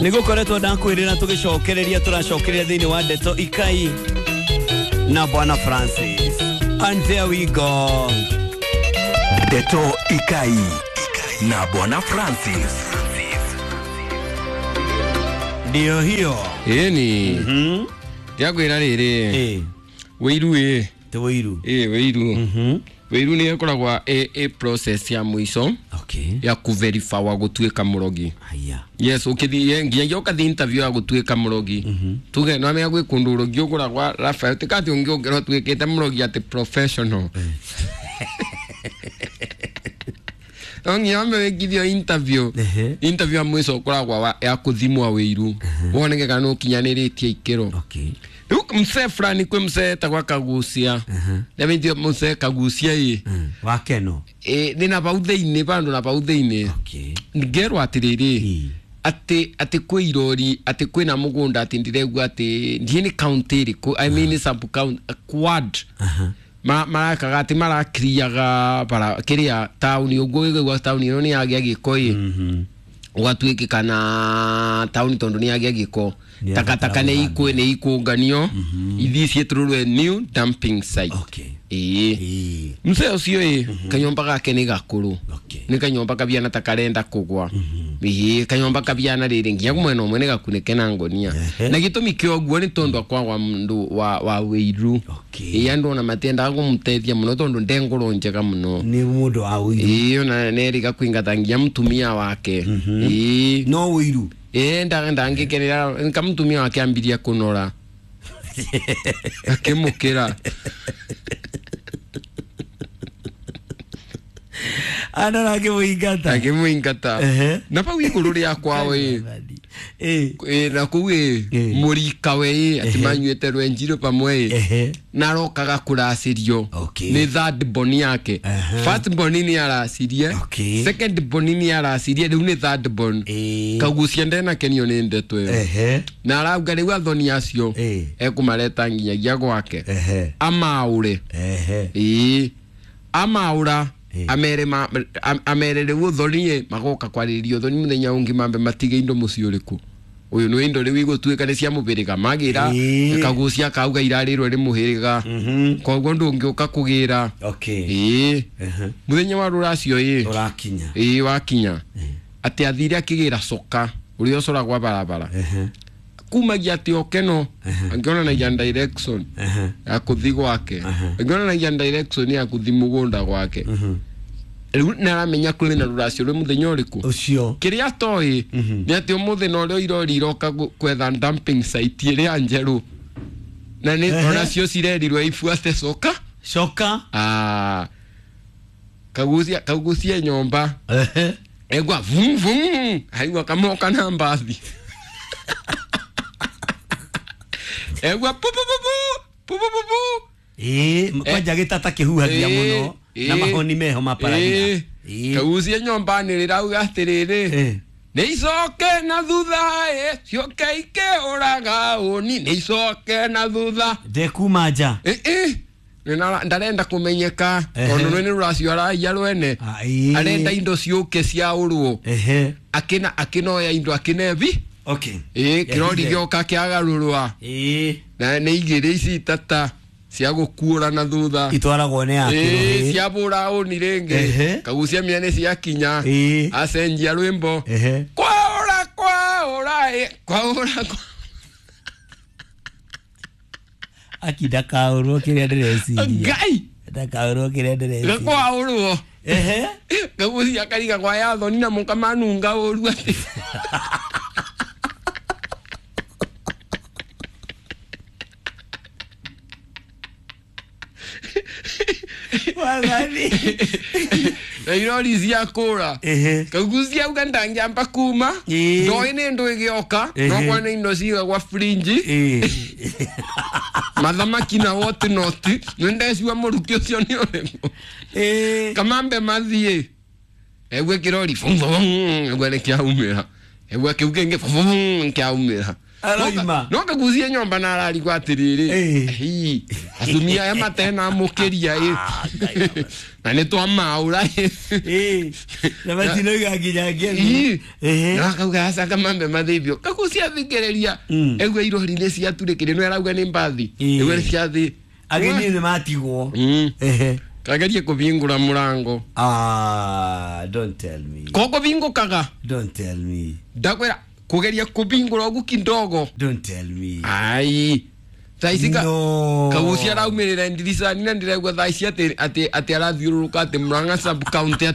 Nĩgũkoretwo ndakwĩrĩra tũgĩcokereria tũracokereria thĩinĩ wa Ndeto Ikai na Bwana Francis. And there we go. Ndeto Ikai na Bwana Francis. Ndio hiyo. Ĩni ndiakwĩra rĩrĩ wĩiru ĩ. Te wĩiru. Ĩ wĩiru. Wĩiru nĩ ĩkoragwa ĩ process ya mũico ya kũverifawa gũtuĩka mũrogi. Haya. Yes, ũkĩthiĩ nginyagia ũkathiĩ interview ya gũtuĩka mũrogi, tuge no amenya gwĩ kũndũ ũrogi ũgũragwa Rafael tikatĩ ũngĩ ũngĩrwo ũtuĩkĩte mũrogi atĩ professional, no nginya wambe wĩkithio interview. Interview ya mũico ũkoragwa ya kũthimwa wĩiru woneke kana nĩ ũkinyanĩrĩtie ikĩro. Rĩu msee fulani kwĩ msee etagwa Kagucia, nĩamĩtio msee Kagucia ĩ. Wakeno. Ĩ nĩ na pau thĩinĩ bandũ na pau thĩinĩ. Ngerwo atĩrĩrĩ atĩ kwĩ irori atĩ kwĩna mũgũnda atĩ ndĩregua atĩ ndiĩ nĩ county ĩrĩkũ, I mean sub county quad marakaga atĩ marakiriaga bara kĩrĩa taũni ũguo gĩgũa taũni ĩno nĩ yagĩa gĩko ĩ ũgatuĩkĩka na taũni tondũ nĩ yagĩa gĩko. Nĩ takataka nĩ ikũ nĩ ikũnganio ithiĩ ciĩtũrũrwe new dumping site. Ĩĩ. Mzee ũcio ĩ kanyũmba gake nĩ gakũrũ. Nĩ kanyũmba kabiana ta karenda kũgwa, ĩĩ kanyũmba kabiana rĩrĩ nginya mwena ũmwe nĩ gakunĩke na ngonia. Na gĩtũmi kĩa ũguo nĩ tondũ akwagwa mũndũ wa wĩiru. Ĩĩ andũ ona matiendaga kũmũteithia mũno tondũ nde ngũrũ njega mũno. Nĩ mũndũ wa wĩiru. Ĩĩ ona nĩerĩga kũingata nginya mũtumia wake. Ĩĩ. No wĩiru. Ĩĩ ndangĩkenera nka mũtumia wake ambirie kũnora akĩmũkĩra. Andũ akĩmũingata. Akĩmũingata. Na pau igũrũ rĩa kwao ĩ. Ĩ na kũu ĩ mũrikawe ĩ atĩ manyuĩte rwenjirũ pamwe ĩ na arokaga kũracĩrio nĩ third born yake. First born nĩ aracirie, second born nĩ aracirie, rĩu nĩ third born. Kagucia ndenakenio nĩ ndeto ĩyo na arauga rĩu athoni acio ekũmareta nginyagia gwake amaũre. Ĩĩ amaũra amere amere rĩu ũthoni magoka kwarĩrĩria ũthoni mũthenya ũngĩ mambe matige indo mũciĩ ũrĩkũ ũyũ nĩ indo rĩu igũtuĩka nĩ cia mũhĩrĩga magĩra. Kagucia kauga irarĩrwo nĩ mũhĩrĩga koguo ndũngĩũka kũgĩra. Ĩĩ mũthenya wa rũracio ĩ ũrakinya. Ĩĩ wakinya atĩ athire akĩgĩra coka ũrĩa ũcoragwa barabara kumagia atĩ okeno angĩonanagia direction ya kũthi gwake, angĩonanagia direction ya kũthi mũgũnda gwake. Rĩu nĩaramenya kũrĩ na rũracio rwĩ mũthenya ũrĩkũ ũcio. Kĩrĩa atoĩ nĩ atĩ ũmũthĩ na ũrĩa irori iroka kwetha dumping site ĩrĩa njerũ na nĩ onacio cirerirwo ibuate coka coka. Kagucia kagucia nyomba egwa vum vum aigua kamoka na mbathi egwa pu pu pu pu pu pu pu. Ĩĩ kwanja gĩtata kĩhuhagia mũno na mahoni meho maparagia. Kagucia nyomba nĩ rĩrauga atĩrĩrĩ nĩ icoke na thutha ĩ cioke ikĩũraga ũni nĩ icoke na thutha ndekuma nja. Ndarenda kũmenyeka tondũ nĩ rũracio araiya rwene arenda indo ciũke ciaũrwo akĩna akĩnoya indo akĩnebi. Ĩĩ kĩrori gĩoka kĩagarũrwa na nĩ igĩrĩ ici itata cia gũkuũra na thutha itwaragwo nĩ akĩrũ cia bũra ũni rĩngĩ kagucia mĩa nĩ ciakinya acenjia rwĩmbo kwaũra kwaũra ĩ kwaũra. Aki ndakaũrwo kĩrĩa ndĩreciria. Ngai ndakaũrwo kĩrĩa ndĩreciria kwaũrwo. Kagucia kariga kwa yathoni na mũkamanunga ũru atĩ Wathani. Na irori cia kũra kagucia auga ndangĩamba kuma ndoĩ nĩ ndũ ĩgĩoka no kwa nĩ indo cigagwa frinji mathamaki na what not nĩ ndecua mũruki ũcio nĩ ũrĩkũ kamambe mathiĩ egwe kĩrori egwe nĩ kĩaumĩra egwe kĩu kĩngĩ kĩaumĩra. Aroima. No kagucie nyomba na ararigwo atiriri. Eh. Hi, atumia aya matena mukiria ĩ. Na nĩ twamaũra ĩ. Eh, na matinoiga nginya ngemi. Ii. Ehe. Na akauga aca kamambe mathithio kagucia thikĩrĩria. Egua irori nĩ ciaturĩkire no arauga nĩ mbathi. Ii. Egua nĩ ciathi. Ageni nĩ matigwo. Ehe. Kagerie kũvingũra mũrango. Ah, don't tell me. Kokũvingũkaga. Don't tell me. Ndakwĩra kũgeria kũvingũra ũguo kidogo. Don't tell me. Ai. Thaa ici ka No. kagucia araumĩrĩra ndiricani na ndĩraigua thaa ici atĩ atĩ atĩ arathiũrũrũka atĩ Murang'a sub county.